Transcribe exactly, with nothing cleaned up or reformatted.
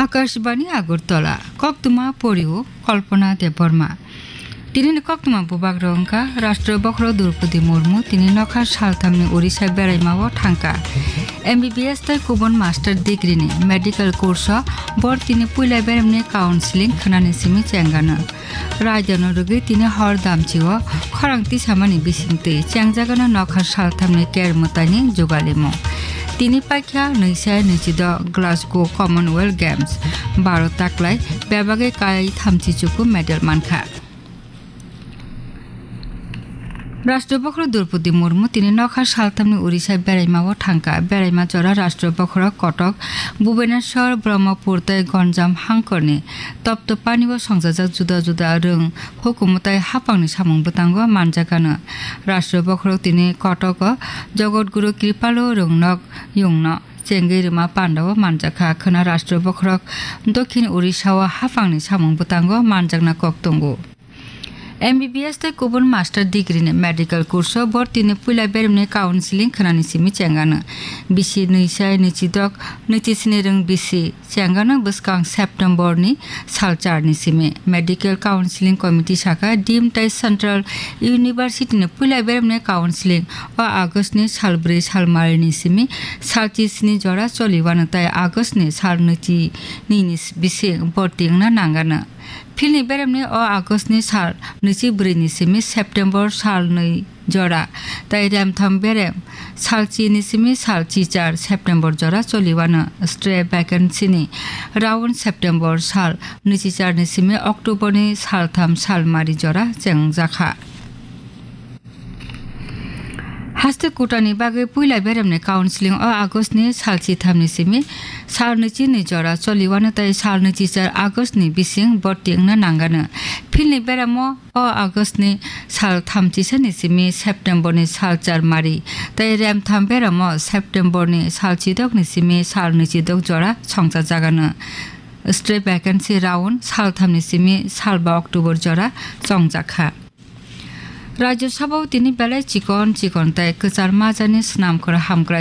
Akashbani Agartala, koktwma porio Kalpana Debbarma. Tini ni koktwma bubak rok wngkha Rashtra Bokhorok Droupadi Murmu, tini nokha salthamni Orissa beraima o thangkha. M B B S tei kubun master degree ni medical course o bor tini puila beremni counseling khwnani simi chengano. Raidano rwgwi tini hor damchi o khorang tisamani bisingtwi chengjagano nokha salthamni ker mwtaini jugalimo. Tini paikha nwisa nwichido Glasgow Commonwealth Games. Baro taklai bebagwi kai thamchi chuku medal mankha. Rashtra Bokhorok Droupadi Murmu tini nokha salthamni Orissa beraima o thangkha. Beraima jora Rashtra Bokhorok Kotok, Bhubaneswar, Brahmapur tei Ganjam hangkorni toptop pani o songjajak juda juda rwng hukumu tei hapangni samung bwtango manjakano. Rashtra Bokhorok tini Kotok o Jagat Guru Kripalo rwngnok yungno chengwi rwma pandao manjakha. Khwna Rashtra Bokhorok Dokhin Orissa o hapangni samung bwtango manjakna kok tongo. M B B S tei kubun master degree ni medical course o borti ni puila beremni counseling khwnani simi chengano. Bisi nwi sai nwi chidok nwi chisni rwng bisi chengano bwskang September ni sal char ni simi. Medical Counseling Committee saka dim tei Central University ni puila beremni counseling o August ni sal bwrwi sal mari ni simi sal chisni jora choli wano tei August ni sal nwi chi nwi ni bising borti wngna nangano. Philni beremni o August ni sal nwichi bwrwi ni simi September sal nwi jora, tei remtham berem sal chi ni simi sal chi char September jora choli wano. Stray vacancy ni round September sal nwichi char ni simi October ni sal tham sal mari jora chengjakha. Haste kutani bagwi puila beremni counseling o August ni sal chitham ni simi sal nwichi ni jora choli wano tei sal nwichi char August ni bising borti wngna nangano. Philni beramo o August ni sal thamchisa ni simi September ni sal char mari tei remtham beramo September ni sal chidok ni simi sal nwichidok jora songchajagano. Stray vacancy round sal tham ni simi sal ba October jora chongjakha. Rajya Sabha o tini belai chikon chikon tei kwchar majani swnamkhor hamkrai